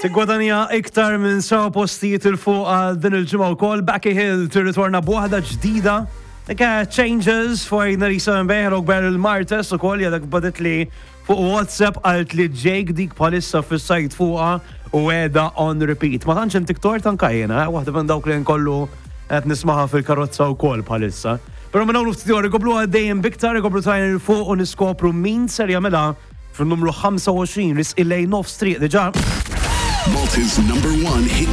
Tiggwadanja iktar minn seba' postijiet 'il fuq għal din il-ġimgħa wkoll, Becky Hill tirritorna b'waħda ġdida. Dik Changes for 97 Bay, hello Beryl Martes ukoll jadek baditli fuq WhatsApp qalt li Jake dik bħalissa fis-sajt fuqha u qiegħda on repeat. Ma tantx intik tort anka jiena, eh, waħda minn dawk li nkollu qed nismaha fil-karozza wkoll bħalissa. Però minn hawn ftit ieħor ikomplu għaddejjin biktar, ikomplu tajn il fuq u niskopru min ser jagħmilha fin-numru 25 risqi lejn nofs triq diġà. Malta's number one hit